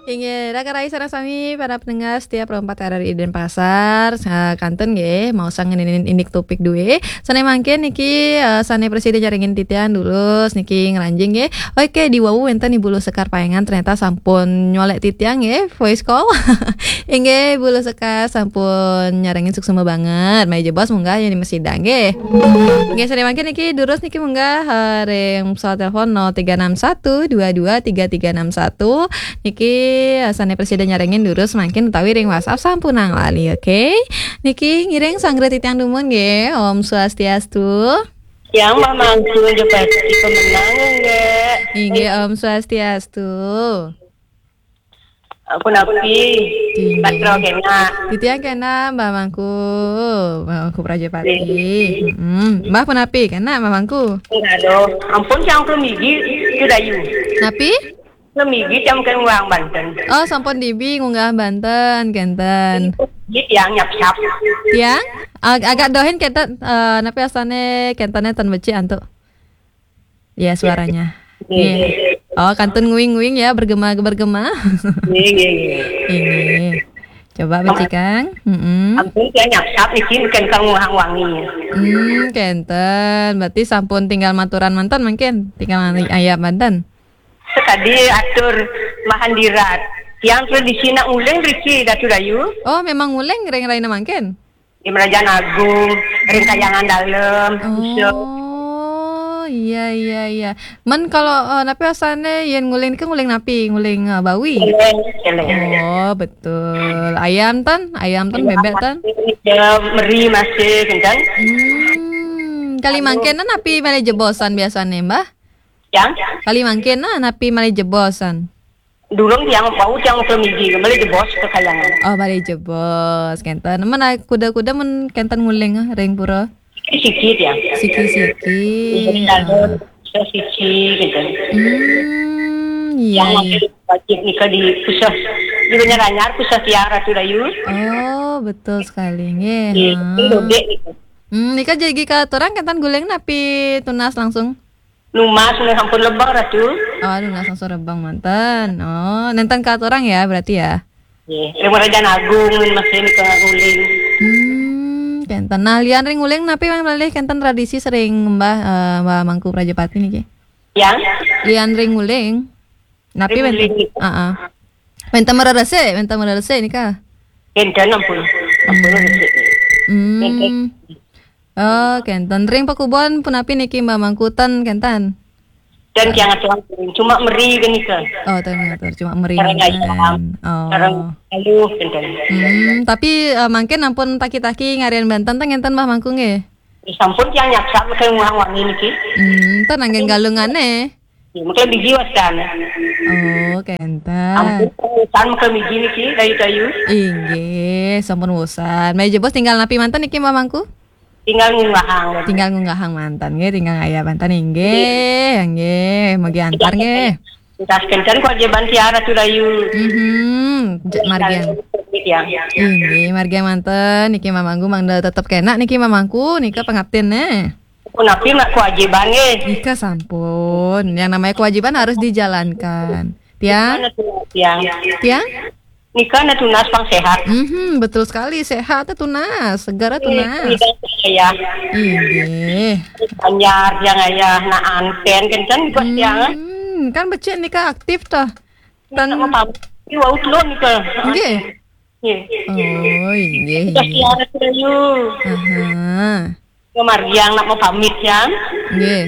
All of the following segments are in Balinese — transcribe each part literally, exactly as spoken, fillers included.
Inggih, rakan rayi sareng sami para pendengar setia Pro empat R R I Denpasar, eh, kantun nggih, maosang ngeninin indik topik duwe. Sane mangkin niki, eh, sane prasida nyarengin titiang durus niki ngranjing nggih. Oke, di wau wenten Ibu Luh Sekar Payangan ternyata sampun nyolek titiang nggih, voice call. Inggih, Ibu Luh Sekar sampun nyarengin suksma banget. Malih jebos munggah yen prasida nggih. Nggih, sane mangkin niki durus niki munggah, eh, ring pesawat telepon nol tiga enam satu dua dua tiga tiga enam satu. Niki, eh, sane prasida nyarengin durus mangkin utawi ring WhatsApp sampunang lali, oke? Niki ngiring sanggra titiang dumun nggih. Om Swastiastu. Yang Mbah Mangku, Jepati pemenang nggih. Inggih, Om Swastiastu. Punapi? Inggih. Batra kena. Titiang kena, Mbah Mangku. Mbah Mangku Prajapati. Nggih. Mm-mm. Mbah punapi? Kena, Mbah Mangku? Aduh, ampun, tiang klemigi, Yu Dayu. Napi? Klemigi, tiang kena ngunggah banten. Oh, sampun dibi ngunggah banten, kenten. Nggih, tiang nyapsap. Tiang? Ag-, agak dohin kenten, eh, napi asane kentene ten becik antuk. Ya, suaranya. Nggih. Nggih. Oh, kantun nguing-nguing ya, bergema-bergema. Nggih, nggih, nggih. Nggih. Coba becikang. Mm-mm. Ampun, tiang nyapsap niki mungkin kang nguhang wangi. Hmm, kenten. Berarti sampun tinggal maturan manten mungkin. Tinggal ayah manten. Sekadi atur Mahandirat. Tiang tradisi nak nguling riki, Datu Dayu. Oh, memang nguling ring raina mangkin? Di Merajaan Agung, ring Kayangan Dalem, Puseh. Oh, iya, iya, iya. Men kalau, eh, napi asane yen nguling ke nguling napi? Nguling, eh, bawi? Celeng, celeng. Oh, betul. Ayam tan? Ayam tan, bebek tan? Ya, meri masih, kenten. Hmm, kali mangkin napi malih jebosan biasane, Mbah? Yang? Kali mangkin napi malih jebosan? Durung tiang bau tiang klemigi, malih jebos ke Kayangan. Oh, malih jebos, kenten. Men kuda-kuda men kenten nguling, ah, ring pura? Siki-siki tiang. Siki-siki. Iya, ah. Siki, kenten. Hmm, iya, iya. Yang wajib nika di Puseh. Di Banjar Anyar, Puseh tiang, Ratu Dayu. Oh, betul sekali, nggih. Iya, ha. Ini dobek nika. Hmm, nika jagi katurang kenten guling napi tunas langsung? Numas, nggih, sampun lebeng, Ratu. Oh, nunas langsung lebeng manten. Oh, nenten katurang ya berarti ya? Nggih, ring Merajaan Agung masih nika nguling. Hmm, kenten. Nah, lian ring nguling napi malih kenten tradisi sering Mbah, eh, Mbah Mangku Prajapati niki? Yang? Lian ring nguling. Napi ring nguling. Heeh. Wenten marerese, wenten marerese nika? Kenten ampun. Ampun, hmm. Resik. Hmm. Kenten. Oh, kenten. Ring pakubon punapi niki, Mbah Mangku, ten kenten? Ten tiang atur, cuma meri ke nika. Oh, ten ngatur, cuma meri. Sareng kenten. Ayam. Oh. Sareng aluh, kenten. Hmm, tapi, eh, mangkin ampun taki-taki ngarian banten ten ngenten, Mbah Mangku, nggih? Sampun tiang nyapsap ke nguhang wangi niki. Hmm, ten anggen galungane. Ya, mungkin biji wastan. Oh, kenten. Ampun, wusan mungkin biji niki, dayu-dayu. Inggih, sampun wusan. Malih jebos tinggal napi manten niki, Mbah Mangku? Tinggal ngunggahang. Tinggal ngunggahang manten nggih, tinggal ngayah manten inggih, inggih. Mugi antar nggih. Entas kenten kewajiban tiang Ratu Dayu. Mhm, j-, margiang. Tiang. Inggih, margiang manten niki Mbah Mangku mangda tetep kena niki Mbah Mangku nika pangaptin neh. Punapi nak kewajiban nggih. Nika sampun. Yang namanya kewajiban harus dijalankan. Tiang? Nika tunas, tiang. Tiang? Nika na tunas pang sehat. Mhm, betul sekali. Sehat teh tunas, segar teh tunas. Inggih, inggih. Anyar tiang ayah nak anten kenten bos tiang. Hmm, kan becik nika aktif toh. Tan mau pamit. Ini wau telur nika. Nggih. Nggih. Oh, inggih, inggih. Tiang sudah yuk. Aha. Ngemargiang nak mau pamit tiang. Nggih.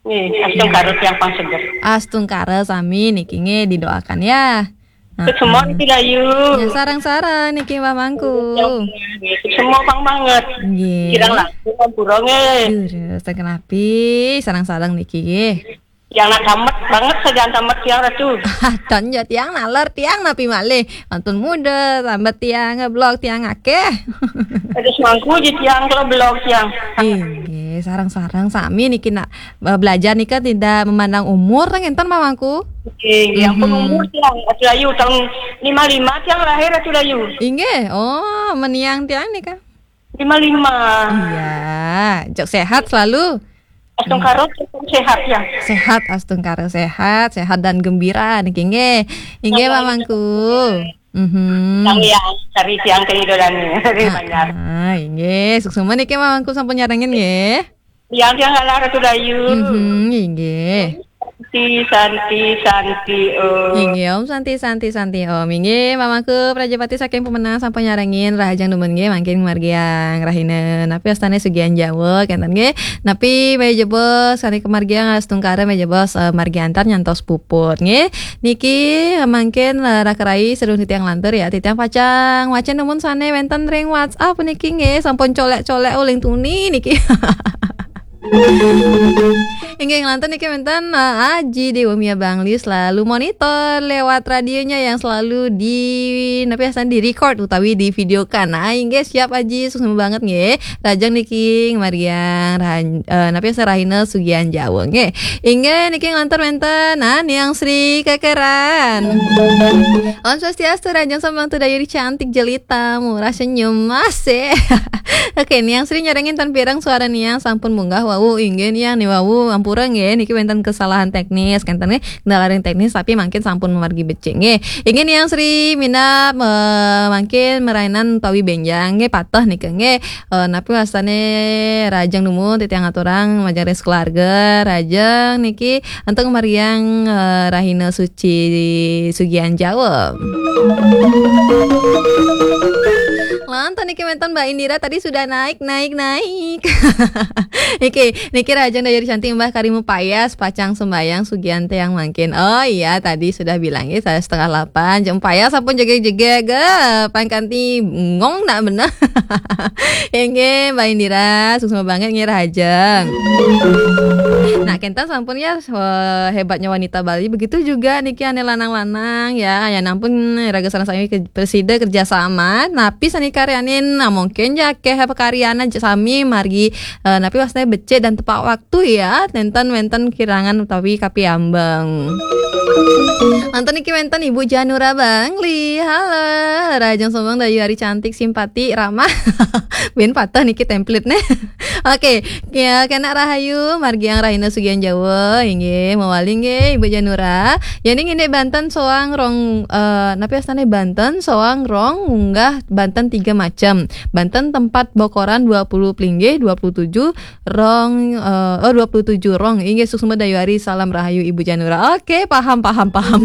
Nggih, astungkara tiang pang seger. Astungkara sami niki nggih didoakan ya. Heeh. Semua niki dayu. Ya, sareng-sareng niki Mbah Mangku. Nggih, semua pang banget. Nggih. Kirang langkung ampura nggih. Durus, ten kenapi, sareng-sareng niki nggih. Yang nak tamat banget saja tamat tiang Ratu. Tan ya tiang naler tiang napi malih. Mantun muda, sambat tiang, blog tiang akeh. Ada semangku je tiang kalau blog tiang. Inggih, sareng-sareng sami niki nak, eh, belajar nika tidak memandang umur, ten ngenten Mbah Mangku? Nggih, nggih, ampun. Mhm. Umur tiang, Ratu Dayu tahun lima lima tiang lahir Ratu Dayu. Inggih, oh, meniang tiang nika. Lima lima. Iya, jok sehat selalu. Astungkara sehat ya. Sehat, astungkara sehat, sehat dan gembira niki nggih. Inggih, Mamangku. Mhm. Sang Hyang, cari tiang kehidupan nih, dari Banjar. Ah, inggih, suksma niki Mamangku sampun nyarengin nggih. Tiang-tiang ngalah Ratu Dayu. Mhm, inggih. Santi, santi, santi, Om. Inggih, Om Santi, Santi, Santi, Om. Inggih, Mamangku Prajapati saking Pemenang sampun nyarengin, rahajeng dumun nggih, mangkin margiang rahina. Napi wastane Sugihan Jawa, kenten nggih. Napi mejebos sane kemargiang astungkara mejebos, eh, margi antar nyantos puput nggih. Niki mangkin, eh, raka rai sedurung titiang lantur ya, titiang pacang wacen dumun sane wenten ring WhatsApp niki nggih, sampun colek-colek uling tuni niki. Inggih, nglantur niki wenten, eh, Aji Dewa Mia Bangli selalu monitor lewat radionya yang selalu di, napi wastane, di record utawi di videokan. Nah, inggih siap Aji, suksma banget nggih. Rahajeng niki margiang rahan-, eh, napi wastane, rahina Sugihan Jawa nggih. Inggih niki nglantur wenten, nah, Niang Sri Kekeran. Om Swastiastu, rahajeng sembang Tudayu cantik jelita, murah senyum, masih. Oke, Niang Sri nyarengin ten pireng suara Niang sampun munggah wau, inggih Niang ni wau, ampura nggih, niki wenten kesalahan teknis, kenten nggih, kendala ring teknis, tapi mangkin sampun mamargi becik nggih. Inggih Niang Sri minab, eh, mangkin marainan utawi benjang nggih, pateh nika nggih. Eh, napi wastane rahajeng dumun titiang aturang majeng ring keluarga, rahajeng niki antuk margiang, eh, rahina suci Sugihan Jawa. Lantas niki wenten Mbak Indira tadi sudah naik, naik, naik. Niki, niki rahajeng Dayu Ri Cantik, Mbah kari mapayas pacang sembayang sugihan tiang mangkin. Oh iya, tadi sudah bilang ya, saya setengah delapan, jam payas sampun jegeg-jegeg, eh, pan kanti ngong nak bener. Inggih, Mbak Indira, suksma banget nggih rahajeng. Nah, kenten sampun ya, eh, hebatnya wanita Bali. Begitu juga niki ane lanang-lanang ya, ya ampun, raga sareng sami ke-, prasida kerja sama. Napi sane karyanin, nah, mungkin ya akeh pakaryan aja sami margi, eh, napi wastane becik dan tepat waktu ya, nenten wenten kirangan utawi kapiambeng. Anten niki wenten Ibu Janura Bangli. Halo, rahajeng sembang Dayu Ari cantik, simpati, ramah. Bin patah niki template nih. Oke, ya, kena rahayu, margiang rahina Sugihan Jawa, inggih, mawali nggih, Ibu Janura. Yani ngindik banten soang rong, eh, napi wastane banten soang rong munggah banten tiga macam. Banten tempat bokoran dua puluh pelinggih, dua puluh tujuh rong, eh, oh, dua puluh tujuh rong. Inggih, suksma Dayu Ari, salam rahayu Ibu Janura. Oke, paham, paham, paham.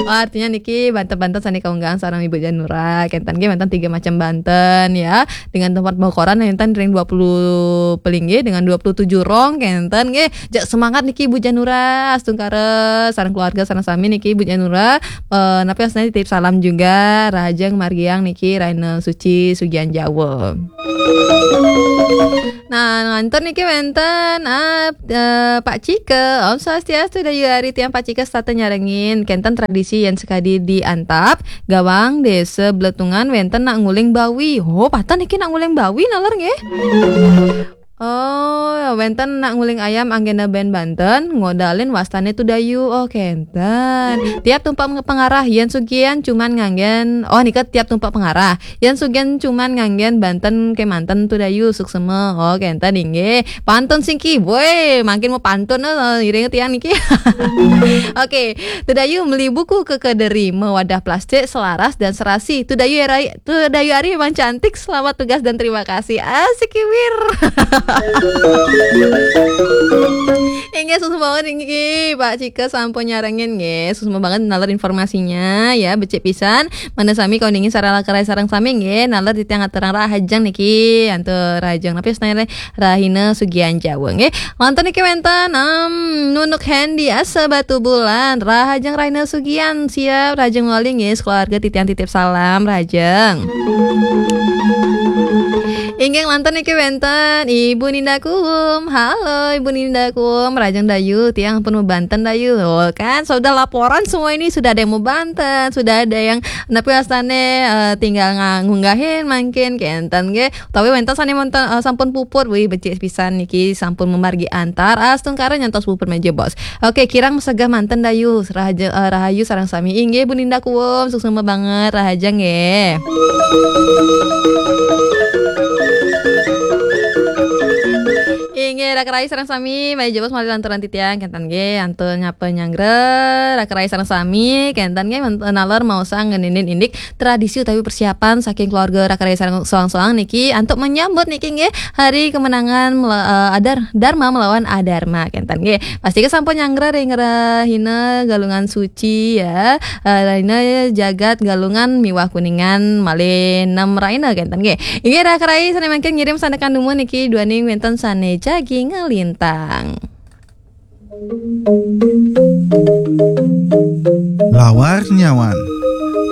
Oh, artinya niki banten-banten sane kaunggahan sareng Ibu Janura. Kenten nggih, banten tiga macam banten ya. Dengan tempat bokoran nenten ring dua puluh pelinggih dengan dua puluh tujuh rong kenten nggih. Jak semangat niki Ibu Janura, astungkara sareng keluarga sareng sami niki Ibu Janura. Eh, napi wastane titip salam juga, rahajeng margiang niki rahina suci Sugihan Jawa. Nah, ngantur niki wenten, ah, eh, Pak Cika. Om Swastiastu, Dayu Ari, tiang Pak Cika setata nyarengin. Kenten tradisi yen sekadi di Antap, Gawang, Desa Bletungan, wenten nak nguling bawi. Oh, patah niki nak nguling bawi naler nggih. Oh, wenten nak nguling ayam anggena ben banten, ngodalin wastane Tudayu. Oh, kenten. Tiap tumpak nge-, pengarah, yen sugihan cuman nganggen, oh, nika tiap tumpak pengarah. Yen sugihan cuman nganggen banten kemanten Tudayu, suksema. Oh, kenten inggih. Pantun singki, boy, mangkin mau pantun, eh, iring tiang niki. Oke, Tudayu meli buku ke kederi, mewadah plastik selaras dan serasi. Tudayu era Tuh, Dayu Ari emang cantik. Selamat tugas dan terima kasih. Asik, Iwir. Inggih, suksma banget inggih, Pak Cika sampun nyarengin nggih. Suksma banget naler informasinya ya, becik pisan. Mangda sami kauningin sareng kerai sareng sami nggih, naler titiang aturang rahajeng niki, antuk rahajeng napi wastane, rahina Sugihan Jawa nggih. Wonten niki wenten, em, Nunuk Hendy asa Batubulan, rahajeng rahina Sugihan, siap rahajeng mawali nggih, sekeluarga titiang titip salam rahajeng. Inggih, lantur niki wenten Ibu Ninda Kuum. Halo Ibu Ninda Kuum, rahajeng Dayu, tiang pun mau banten Dayu. Oh, kan sudah laporan semua ini, sudah ada yang mau banten, sudah ada yang napi wastane, eh, tinggal nga-, ngunggahin mangkin kenten nggih. Utawi wenten sane monten, eh, sampun puput, wih, becik pisan niki sampun mamargi antar astungkara nyantos puput mejebos. Oke, kirang mesegah manten Dayu, rahaja-, eh, rahayu sareng sami. Inggih, Bu Ninda Kuum, suksma banget, rahajeng nggih. Inggih, Raka rai sareng sami, malih jebos malih lanturang titiang, kénten nggih, antuk nyapa nyanggra, raka rai sareng sami, kénten nggih, men-, nalor maosang ngeninin indik tradisi utawi persiapan saking keluarga raka rai sareng soang-soang niki, antuk menyambut niki nggih, hari kemenangan mela-, eh, adar-, Dharma melawan Adharma, kénten nggih. Pasti sampun nyanggra ring rahina Galungan Suci ya, eh, rahina Jagat Galungan miwah Kuningan malih nem rahina, kénten nggih. Inggih, raka rai sané mangkin ngirim sandekan dumun niki duaning wénten sané jagi ngelintang. Lawar Nyawan.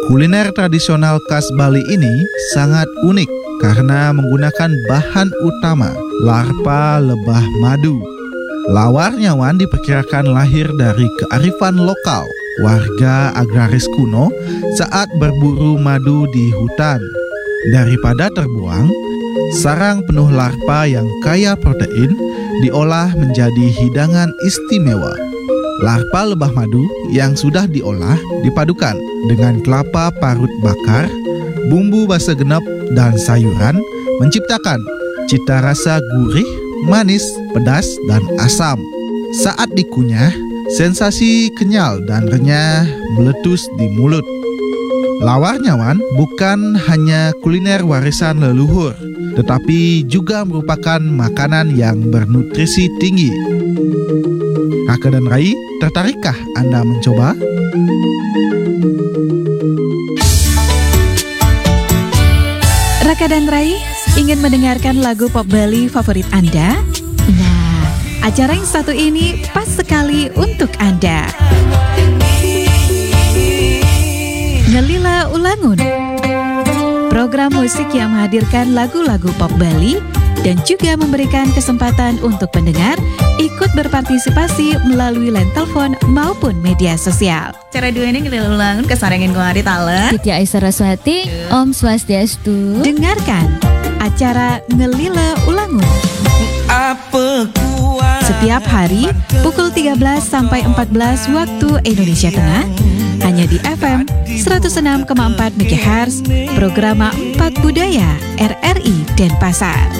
Kuliner tradisional khas Bali ini sangat unik karena menggunakan bahan utama larpa lebah madu. Lawar Nyawan diperkirakan lahir dari kearifan lokal warga agraris kuno saat berburu madu di hutan. Daripada terbuang, sarang penuh larpa yang kaya protein diolah menjadi hidangan istimewa. Larpa lebah madu yang sudah diolah dipadukan dengan kelapa parut bakar, bumbu basa genep, dan sayuran, menciptakan cita rasa gurih, manis, pedas, dan asam. Saat dikunyah, sensasi kenyal dan renyah meletus di mulut. Lawar Nyawan bukan hanya kuliner warisan leluhur, tetapi juga merupakan makanan yang bernutrisi tinggi. Raka dan Rai, tertarikkah Anda mencoba? Raka dan Rai, ingin mendengarkan lagu pop Bali favorit Anda? Nah, acara yang satu ini pas sekali untuk Anda. Ngelila Ulangun. Program musik yang menghadirkan lagu-lagu pop Bali dan juga memberikan kesempatan untuk pendengar ikut berpartisipasi melalui line telepon maupun media sosial. Acara duaning Ngelila Ulangun kasarengin kuari taler. Titi Aisyah Saraswati, Om Swastiastu. Dengarkan acara Ngelila Ulangun. Setiap hari, pukul tiga belas sampai empat belas waktu Indonesia Tengah, hanya di F M seratus enam koma empat megahertz, Programa empat Budaya, R R I Denpasar.